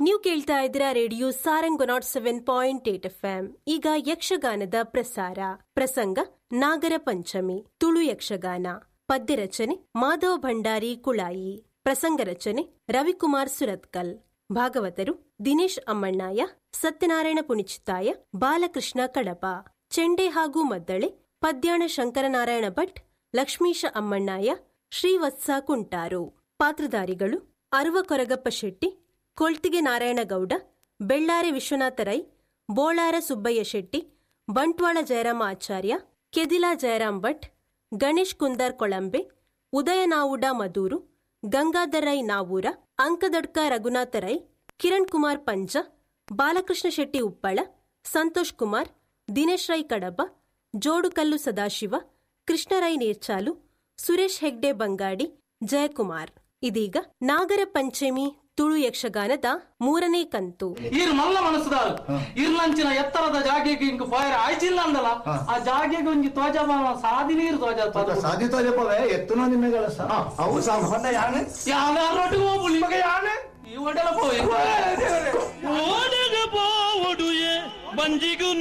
ನೀವು ಕೇಳ್ತಾ ಇದ್ದೀರಾ radio Sarang nought seven point eight F M. ಈಗ ಯಕ್ಷಗಾನದ ಪ್ರಸಾರ. ಪ್ರಸಂಗ ನಾಗರ ಪಂಚಮಿ, ತುಳು ಯಕ್ಷಗಾನ. ಪದ್ಯ ರಚನೆ ಮಾಧವ ಭಂಡಾರಿ ಕುಳಾಯಿ, ಪ್ರಸಂಗ ರಚನೆ ರವಿಕುಮಾರ್ ಸುರತ್ಕಲ್. ಭಾಗವತರು ದಿನೇಶ್ ಅಮ್ಮಣ್ಣಾಯ, ಸತ್ಯನಾರಾಯಣ ಪುಣಿಚಿತ್ತಾಯ, ಬಾಲಕೃಷ್ಣ ಕಡಪ. ಚೆಂಡೆ ಹಾಗೂ ಮದ್ದಳೆ ಪದ್ಯಾಣ ಶಂಕರನಾರಾಯಣ ಭಟ್, ಲಕ್ಷ್ಮೀಶ ಅಮ್ಮಣ್ಣಾಯ, ಶ್ರೀವತ್ಸ ಕುಂಟಾರು. ಪಾತ್ರಧಾರಿಗಳು ಅರುವ ಕೊರಗಪ್ಪ ಶೆಟ್ಟಿ, ಕೊಳ್ತಿಗೆ ನಾರಾಯಣಗೌಡ, ಬೆಳ್ಳಾರೆ ವಿಶ್ವನಾಥ ರೈ, ಬೋಳಾರ ಸುಬ್ಬಯ್ಯ ಶೆಟ್ಟಿ, ಬಂಟ್ವಾಳ ಜಯರಾಮ ಆಚಾರ್ಯ, ಕೆದಿಲಾ ಜಯರಾಮ್ ಭಟ್, ಗಣೇಶ್ ಕುಂದಾರ್ ಕೊಳಂಬೆ, ಉದಯನಾವುಡ ಮದೂರು, ಗಂಗಾಧರ್ ರೈ ನಾವೂರ, ಅಂಕದಡ್ಕ ರಘುನಾಥ ರೈ, ಕಿರಣ್ ಕುಮಾರ್ ಪಂಜ, ಬಾಲಕೃಷ್ಣ ಶೆಟ್ಟಿ ಉಪ್ಪಳ, ಸಂತೋಷ್ ಕುಮಾರ್, ದಿನೇಶ್ ರೈ ಕಡಬ, ಜೋಡುಕಲ್ಲು ಸದಾಶಿವ, ಕೃಷ್ಣರೈ ನೀರ್ಚಾಲು, ಸುರೇಶ್ ಹೆಗ್ಡೆ ಬಂಗಾಡಿ, ಜಯಕುಮಾರ್. ಇದೀಗ ನಾಗರ ಪಂಚಮಿ ತುಳು ಯಕ್ಷಗಾನದ ಮೂರನೇ ಕಂತು. ಈರ್ ಮಲ್ಲ ಮನಸ್ಸುದಾರು ಇರ್ಲಂಚಿನ ಎತ್ತರದ ಜಾಗೆಗೆ ಇಂಕ್ ಫೈರ್ ಆಯ್ಚಿಲ್ಲ ಅಂದಲ್ಲ, ಆ ಜಾಗೆಗೆ ಒಂಜಿ ತ್ವಜ ಸಾದಿ ನೀರು ತ್ವಜ ಸಾದಿ ತೋಜಪವೇ ಎತ್ತುನ ನಿನ್ನೆಗಳ ಅವು ಸಾಮಾನ್ಯ ಯಾನೆ ಯಾನ ರೊಟ್ಟಿಗೆ ಹೋಗ್ಲಿ ಮಗ ಯಾನೆ ಈ ಒಡೆಲ ಪೋಯಿ ಓಡೆಗ ಪೋವೊಡುಯೆ ಬಂಜಿಗು.